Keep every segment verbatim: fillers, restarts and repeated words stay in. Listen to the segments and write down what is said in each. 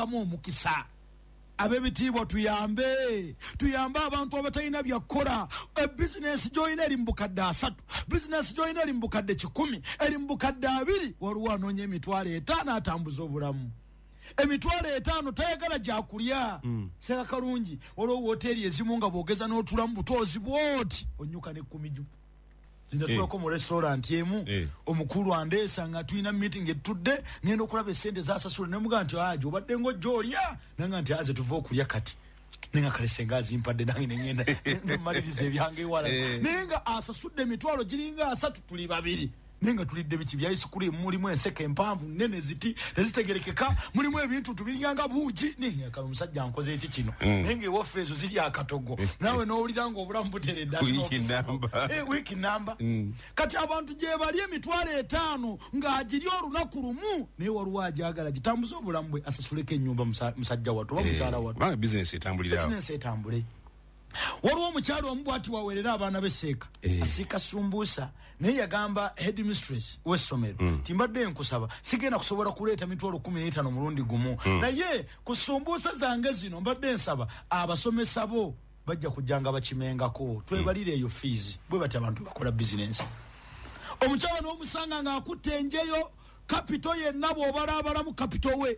ateekamu omukisa. Ab'ebitiibwa tuyambe, tuyambe abantu abatalina byakukola. Ebizinensi gy'olina eri mu bukadde asatu, bizinensi gy'olina eri mu bukadde kikumi, eri mu bukadde abiri, waliwo anoonya emitwalo etaano atambuza obulamu. Emitwalo etaano tayagala gyakulya. Mm. Seka kalungi, waliwo woteeri ezimu nga bw'ogeza n'otulamu butoozi bw'oti onyuka n'ekkumi gyo. Zinatulako mu restaurant emu, omukulu andeesa nga tulina meeting etudde, ngenda okulaba essente zasasula, ne mugamba nti aje obadde ng'ojja olya, nanga nti aze tuva okulya kati. Nenga kale senga azimpadde nange ne ngenda ne mmaliriza ebyange ewala. Naye nga asasudde emitwalo giringa asatu, tuli babiri. Naye nga tulidde biki bya ice cream, mulimu enseke empanvu nnene ziti tezitegerekeka, mulimu ebintu tubiringa nga buugi. Naye nga omusajja nkoze eki kino, naye nga ewaffe ezo ziri akatogo, naawe n'owulira ng'obulamu buteredde. Wiiki namba. Kati abantu gye bali emitwalo etaano ng'agiri olunaku lumu, naye waliwo agyagala gitambuze obulamu bwe, asasuleko ennyumba musajja wattu oba mukyala wattu, bizinensi etambulira, bizinensi etambule. Waliwo omukyalo omu bw'ati wawerera abaana b'esseeka, asiika sumbuusa, naye yagamba headmistress w'essomero nti mbadde nkusaba sigenda kusobola kuleeta mitwalo kumi n'etaano mulundi gumu, naye ku sumbuusa zange zino mbadde nsaba abasomesa bo bajja kujjanga bakimengako, twebalire eyo fees. Bwe bati abantu bakola bizinensi. Omukyala n'omusanga ng'akutte enjeyo, kapito yenna bw'obalaabalamu kapito we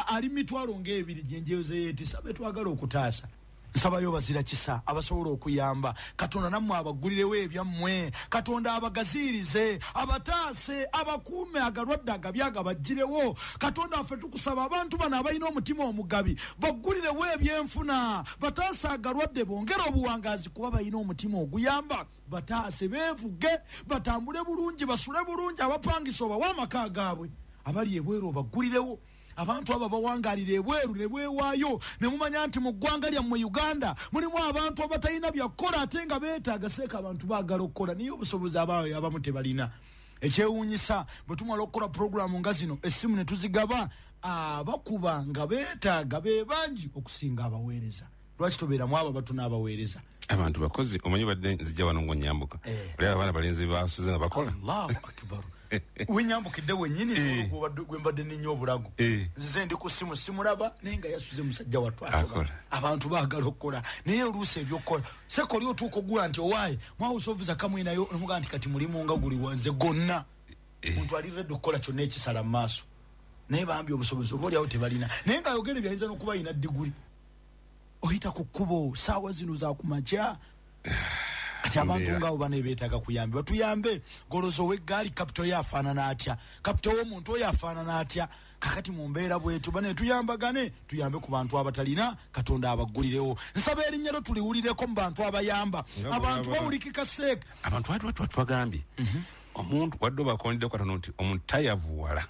ali mitwalo ng'ebiri gy'enjeyo ze yeetisa. Be twagala okutaasa, nsabayo bazira kisa abasobola okuyamba. Katonda nammwe abaggulirewo ebyammwe, Katonda abagaziirize, abataase, abakuume agalwadde agabi agabaggirewo. Katonda waffe tukusaba abantu bano abalina omutima omugabi baggulirewo ebyenfuna, bataase agalwadde, bongere obuwangaazi kuba balina omutima oguyamba, bataase beevuge, batambule bulungi, basule bulungi, abapangisa obawe amaka gaabwe, abali ebweru obaggulirewo. Abantu abo bawangalira ebweru ne bwewaayo, ne mumanya nti mu ggwanga lyammwe Uganda mulimu abantu abatalina byakukola ate nga beetaaga. Seeka abantu baagala okukola naye obusobozi abaayo abamu tebalina. Ekyewuunyisa bwe tumala okukola puroguramu nga zino, essimu ne tuzigaba, abakuba nga beetaaga be bangi okusinga abaweereza. Lwaki tobeeramu abo abato n'abaweereza? Abantu bakozi, omanyi badde nzijja wano ng'onnyambuka, oli abaana balenzi basuze nga bakola. Allahu akbar. Wenyambukidde wennyini gwe mbadde nninnya obulago, nzize ndi ku ssimu simulaba, naye nga yasuze musajja wattu. Abantu baagala okukola naye oluusi ebyokukola seka oli otuuka ogula nti owaaye mwawusa kamwinayo, nomugaa nti kati mulimu nga guli wanze gonna. Omuntu ali redde okukola kyonna ekisala mu maaso, naye bambi obusobozi oba oliawo tebalina. Naye ng'ayogera byayinza n'okuba ayina diguli. Oyita ku kkubo saawa zino za kumakya. Kati abantu ng'abo bano beetaaga kuyambibwa, tuyambe. Golozo ow'eggaali kapito ye afaanana atya? Kapito w'omuntu oyo afaanana atya? Kakati mu mbeera bwetu bane tuyambagane, tuyambe ku bantu abatalina, Katonda abaggulirewo. Nsaba erinnya lyo tuliwulireko mu bantu abayamba. Abantu bawulikika seeka. Abantu twagambye omuntu wadde obakondeddeko katono nti omuntu tayavuwala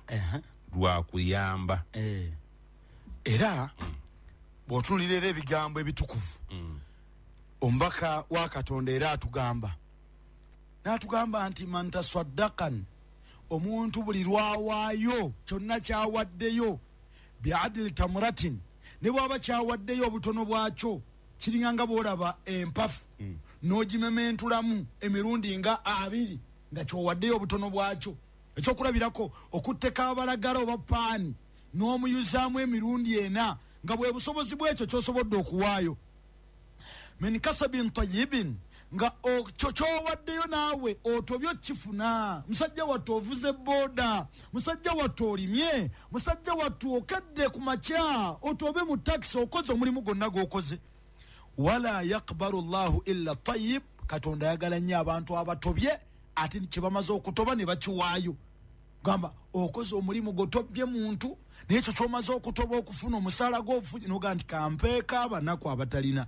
lwakuyamba. Era bw'otunuulira era ebigambo ebitukuvu, omubaka wa Katonda era atugamba n'atugamba nti man tasaddakan, omuntu buli lwawaayo kyonna kyawaddeyo biadili tamuratin, ne bw'aba kyawaddeyo obutono bwakyo kiringa nga bw'olaba empafu n'ogimementulamu emirundi nga abiri nga kyowaddeyo obutono bwakyo. Ekyokulabirako, okutteka abalagala oba paani n'omuyuzaamu emirundi ena nga bwe busobozi bwekyo ky'osobodde okuwaayo. Min kasabin tayyibin, nga kyo kyowaddeyo naawe otobyo kifuna. Musajja wattu ovuze boda, musajja wattu olimye, musajja wattu okedde ku makya otobe mu takisi, okoze omulimu gwonna gw'okoze. Wala yakbalu llahu illa tayyib, Katonda ayagala nnyo abantu abatobye ate kye bamaze okutoba ne bakiwaayo. Gamba okoze omulimu gw'otobye muntu, naye ekyo ky'omaze okutoba okufuna omusaala gw'obufugi n'ogamba nti kampeeko abanaku abatalina.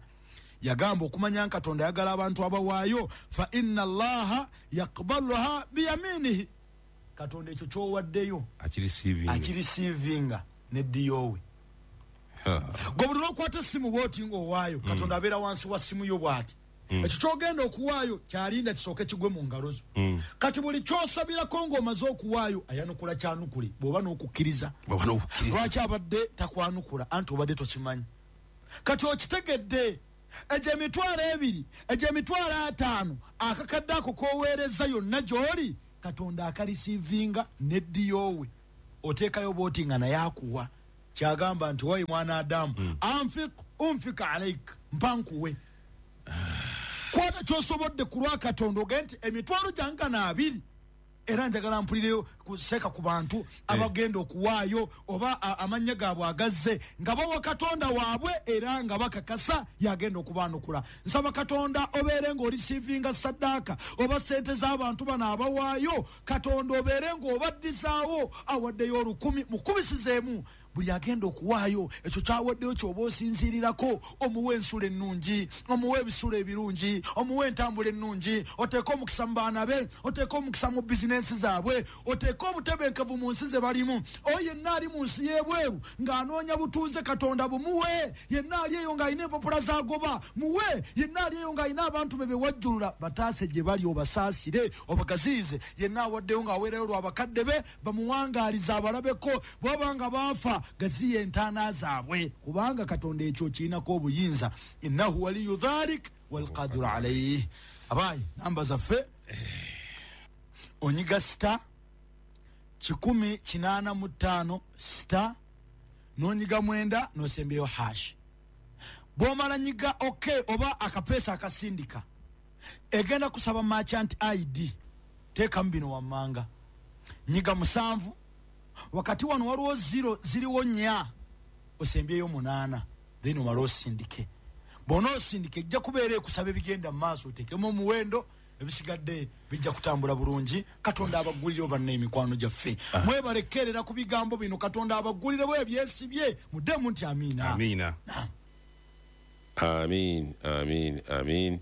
Yagamba okumanya Katonda ayagala abantu abawaayo, fa inna allaha yakbaluha biyaminihi, Katonda ekyo ky'owaddeyo akirisiivinga neddiyowe. Gwe buli lw'okwata essimu bw'oti ng'owaayo, Katonda abeera wansi wa ssimu yo bw'ati. Ekyo ky'ogenda okuwaayo kyalinda kisooke kigwe mu ngalo zo. Kati buli ky'osabirako ng'omaze okuwaayo ayanukula kyanukule bw'oba n'okukkiriza. Lwaki abadde takwanukula? Anti obadde tokimanyi. Kati okitegedde egyo emitwalo ebiri, egyo emitwalo ataano, akakadde ako k'oweereza yonna gy'oli, Katonda akarisiivinga neddiyowe. Oteekayo bw'oti nga naye akuwa. Kyagamba nti wayi mwana Adamu, mm. anfik unfika alaik, mpankuwe. Kwata ky'osobodde ku lwa Katonda ogende nti emitwalo gyange na abiri, era njagala mpulireyo kuseka ku bantu abagenda okuwaayo oba amannya gaabwe agazze nga bawa Katonda waabwe era nga bakakasa yagenda okubaanukula. Nsaba Katonda obeere ng'orisiivinga saddaaka oba ssente z'abantu bano abawaayo, Katonda obeere ng'obaddizaawo awaddeyo olukumi mukubisizeemu. Buli agenda okuwaayo ekyo kyawaddeyo ky'oba osinziirirako, omuwe ensulo ennungi, omuwe ebisulo ebirungi, omuwe entambula ennungi, oteeke omukisa mu baana be, oteeke omukisa mu bizinensi zaabwe, oteeke obutebenkevu mu nsi ze balimu. Oyo yenna ali mu nsi y'ebweru ng'anoonya butuuze, Katonda bumuwe. Yenna ali eyo ng'alina empapula z'agoba, muwe. Yenna ali eyo ng'alina abantu be bewajjulula, bataase gye bali, obasaasire, obagaziyize. Yenna awaddeyo ng'aweerayo lwa bakadde be, bamuwangaalize abalabeko, bw'aba nga baafa gaziye entaana zaabwe, kubanga Katonda ekyo kirinako obuyinza. Innahu waliyu dhalik walqadiru alayhi. Abayi, namba zaffe onyiga sita kikumi kinaana mu ttaano sita n'onyiga mwenda n'osembyeyo hash. Bw'omala nyiga ok oba akapeesa akasindika, egenda kusaba merchant I D, teekamu bino wammanga. Nyiga musanvu, wakati wano waliwo zero ziriwo nnya, osembyeyo munaana, then omale osindike. Bw'onoosindika ejja kubeera ekusaba ebigenda mu maaso, oteekemu omuwendo, ebisigadde bijja kutambula bulungi. Katonda abaggulire banna emikwano gyaffe. Mwebale kkerera ku bigambo bino, Katonda abaggulirewo ebyesibye. Muddemu nti amiina. Amiina. Amin, amin, amin.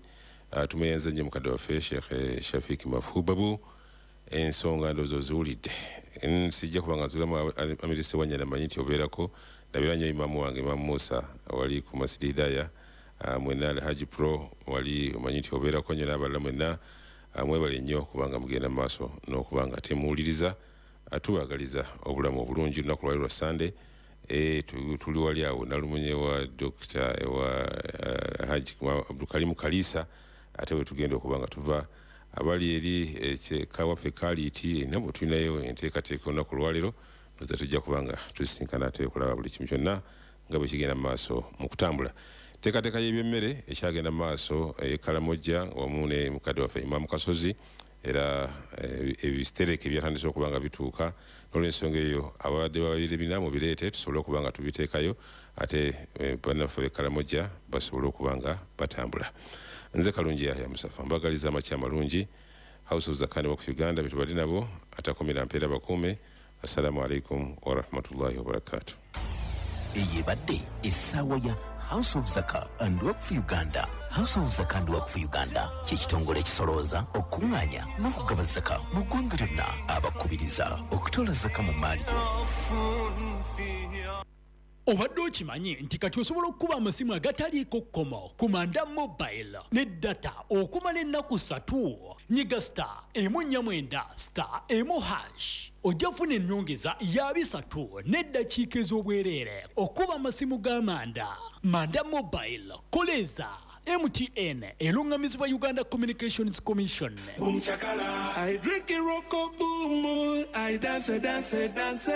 Uh, tumeyenza nnyo mukadde waffe Sheikh Shafik Mafubabu. Ensonga ndowooza oziwulidde. Sijja kuba nga nzulamu Amiri Ssewanyana, mmanyi nti obeerako. Ndabira nnyo imaamu wange Imaamu Musa wali ku Masjid Hidaya, mwenna Alhaji Pro wali omanyi nti obeerako nnyo n'abalala mwenna. Mwebale nnyo kubanga mugenda mu maaso n'okuba nga temuwuliriza. Tubaagaliza obulamu obulungi. Olunaku lwali lwa Sunday, tuli wali awo nalumunye wa Dokita ewa Haji Abdulkarimu Kalisa, ate bwe tugenda okuba nga tuva abali eri kawaffe Kaliiti, nabo tulinayo enteekateeka olunaku lwaleero. Ndoza tujja kuba nga tusisinkana ate okulaba buli kimu kyonna nga bwe kigenda mu maaso mu kutambula. Enteekateeka y'ebyemmere ekyagenda mu maaso e Kalamojja wamu ne mukadde waffe Imaamu Kasozi, era ebitereke byatandise okuba nga bituuka. N'olwensonga eyo ababadde babiri bina mubireete tusobole okuba nga tubiteekayo, ate bannaffe b'e Kalamojja basobole okuba nga batambula. Nze Kalungi Yahya Musafa, mbagaliza amakya amalungi. House of Zakah and Waqf Uganda betubadde nabo, atakomera mpeera bakuume. Assalamu alaikum warahmatullahi wabarakatuh. Eyo ebadde essaawa ya House of Zakah and Waqf Uganda. House of Zakah and Waqf Uganda kye kitongole ekisolooza, okuŋŋaanya n'okugaba zaka mu ggwanga lyonna. Abakubiriza okutoola zaka mu mmaali yo. Obadde okimanyi nti kati osobola okukuba amasimu agataliiko kkomo ku Manda Mobile ne data okumala ennaku ssatu? Nyiga star emu nnya mwenda star emu hash, ojja kufuna ennyongeza ya bisatu n'eddakiika ez'obwereere okuba amasimu ga Manda. Manda Mobile, koleza M T N eruŋŋamizibwa Uganda Communications Commission. Boom chakala, I drink it roko boom, I dance dance dance.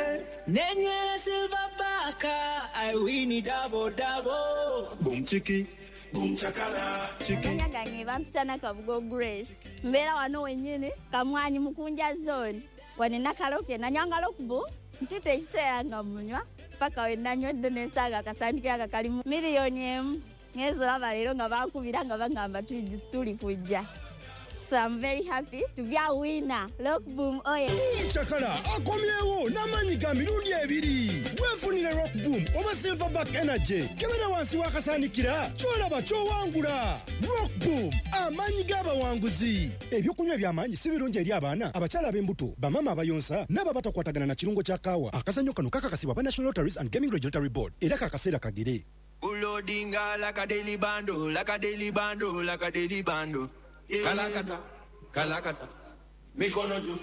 Nenywera silver baka, I win it double double. Boom chiki, boom chakala, chiki. Nyangange bampita Nakabugo Grace. Mbeera wano wennyini Kamwanyi Mukunja zone. Wane nakaloke nanywanga lokubu, ntute ekiseera nga munywa paka we nanywedde n'ensaaga akasandikira nga kalimu miliyoni emu. Ngezo laba leero nga bankubira nga bangamba tuli kujja. So I'm very happy to be a winner. Rock Boom oye. Boom Chakala akomyewo n'amaanyi ga mirundi ebiri. Weefunire Rock Boom oba Silverback Energy. Kebera wansi w'akasaanikira ky'olaba ky'owangula. Rock Boom, amaanyi g'abawanguzi. Ebyokunywa eby'amaanyi si birungi eri abaana, abakyala ab'embuto, bamaama abayonsa n'abo abatakwatagana na kirungo kya kaawa. Akazannyo kano kakakasibwa aba National Lotteries and Gaming Regulatory Board era kakaseera kagere. Ulodinga like a daily bando, like a daily bando, like a daily bando. Kalakata, kalakata, mikono juu.